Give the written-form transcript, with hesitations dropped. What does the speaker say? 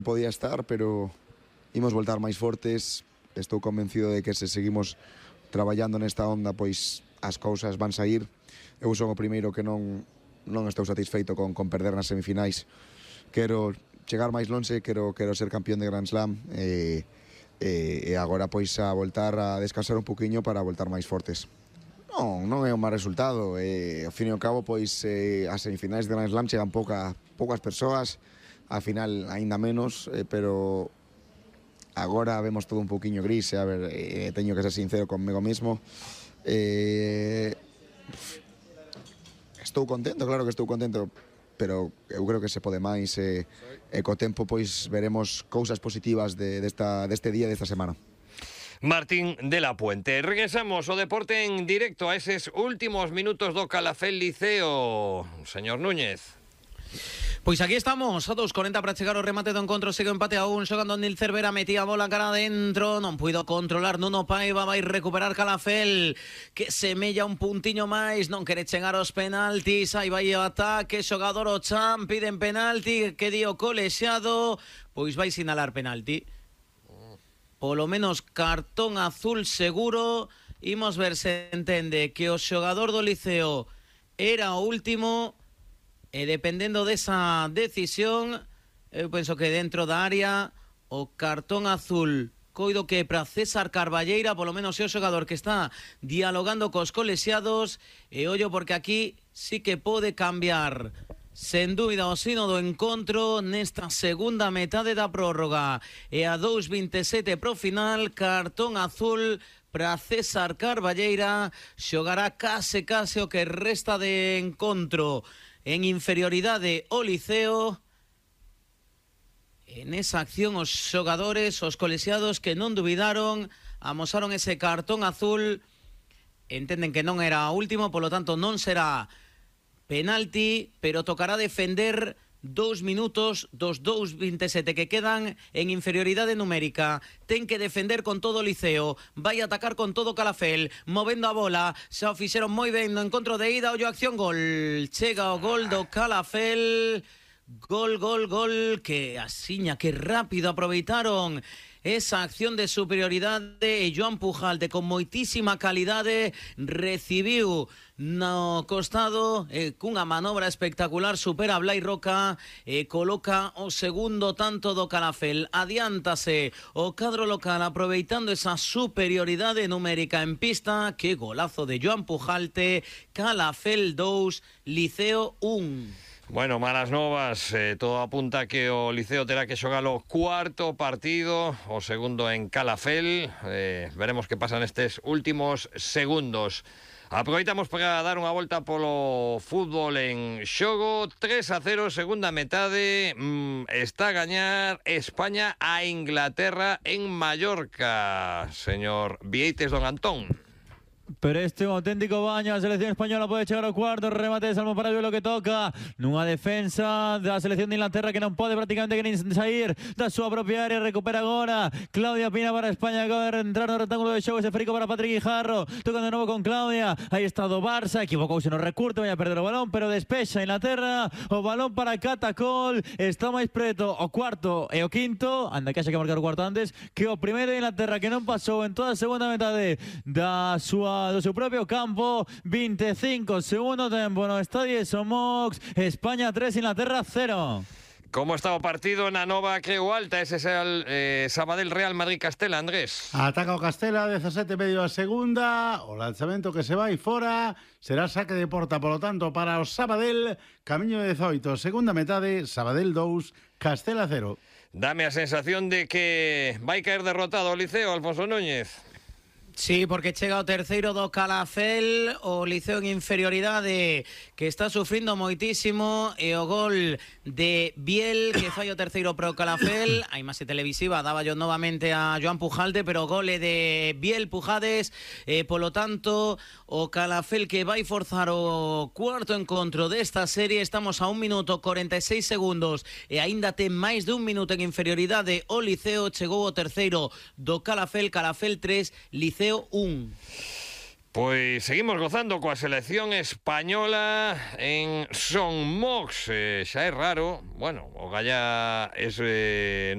podía estar, pero imos voltar máis fortes. Estou convencido de que se seguimos traballando nesta onda, pois as cousas van sair. Eu son o primeiro que non estou satisfeito con perder nas semifinais. Quero chegar máis lonxe, quero ser campeón de Grand Slam e agora pois a voltar a descansar un poquinho para voltar máis fortes. Non é un mal resultado, ao fin e ao cabo pois as semifinais de Grand Slam chegan poucas persoas, a final aínda menos, pero agora vemos todo un poquinho gris, a ver, teño que ser sincero conmigo mismo. Estou contento, claro que estou contento, pero eu creo que se pode máis, e co tempo pois veremos cousas positivas deste día, desta semana. Martín de la Puente. Regresamos ao deporte en directo a eses últimos minutos do Calafell Liceo. Señor Núñez. Pois aquí estamos, a 2:40 para chegar ao remate do encontro. Segue o empate a 1, xogando Nil Cervera, metía a bola cara adentro, non puido controlar Nuno Paiva, vai recuperar Calafell, que semella un puntiño máis, non quere chegar aos penaltis, aí vai o ataque, xogador o Chan, piden penalti, que dio colexiado, pois vai sinalar penalti. Polo menos cartón azul seguro. Imos ver se entende que o xogador do Liceo era o último, e dependendo desa decisión, eu penso que dentro da área o cartón azul coido que é para César Carballeira, polo menos é o xogador que está dialogando cos colexiados, e ollo porque aquí sí que pode cambiar sen dúbida o sino do encontro nesta segunda metade da prórroga. E a 2:27 pro final, cartón azul para César Carballeira, xogará case o que resta de encontro en inferioridade o Liceo. En esa acción os xogadores, os colexiados que non dubidaron, amosaron ese cartón azul, entenden que non era o último, polo tanto non será penalti, pero tocará defender 2 minutos dos 2:27 que quedan en inferioridade numérica. Ten que defender con todo o Liceo, vai atacar con todo Calafell, movendo a bola, xa o fixeron moi ben no encontro de ida, ollo acción, gol. Chega o gol do Calafell, gol, que asiña, que rápido aproveitaron esa acción de superioridade, e Joan Pujalte con moitísima calidade recibiu no costado, cunha manobra espectacular, supera a Blai Roca e coloca o segundo tanto do Calafell. Adiántase o cadro local aproveitando esa superioridade numérica en pista. Que golazo de Joan Pujalte. Calafell 2, Liceo 1. Bueno, malas novas, todo apunta que o Liceo terá que xogar o cuarto partido, o segundo en Calafell. Veremos que pasan estes últimos segundos. Aproveitamos para dar unha volta polo fútbol en xogo. 3-0, segunda metade. Está a gañar España a Inglaterra en Mallorca. Señor Vieites don Antón. Pero este é un auténtico baño. A selección española pode chegar ao cuarto. Remate de Salmo para lo que toca nunha defensa da selección de Inglaterra que non pode prácticamente que nin sair da súa propia área. Recupera agora Claudia Pina para España. Acaba de entrar no rectángulo de xogo. Ese frico para Patrick Guijarro. Tocan de novo con Claudia. Aí está do Barça. Equivocouse no recurte. Vai a perder o balón, pero despexa Inglaterra. O balón para Catacol. Está máis preto o cuarto e o quinto. Anda que haxa que marcar o cuarto antes que o primeiro de Inglaterra, que non pasou en toda a segunda metade do seu propio campo. 25 segundo tempo no Estadio Somox. España 3, Inglaterra 0. Como está o partido na nova Creu Alta? Ese é o Sabadell Real Madrid Castela, Andrés. Ataca o Castela, 17,5 a segunda. O lanzamento que se vai fora será saque de porta, polo tanto, para o Sabadell. Camiño de 18, segunda metade, Sabadell 2, Castela 0. Dame a sensación de que vai caer derrotado o Liceo, Alfonso Núñez. Sí, porque chega o terceiro do Calafell, o Liceo en inferioridade que está sufrindo moitísimo, e o gol de Biel que fai o terceiro pro Calafell. A imaxe televisiva daba yo novamente a Joan Pujalte, pero o gol é de Biel Pujades, polo tanto o Calafell que vai forzar o cuarto encontro desta serie. Estamos a 1 minuto 46 segundos e aínda ten máis de 1 minuto en inferioridade o Liceo. Chegou o terceiro do Calafell, Calafell 3, Liceo 1. Pois seguimos gozando coa selección española en Son Mox. Xa é raro, bueno, o Galla é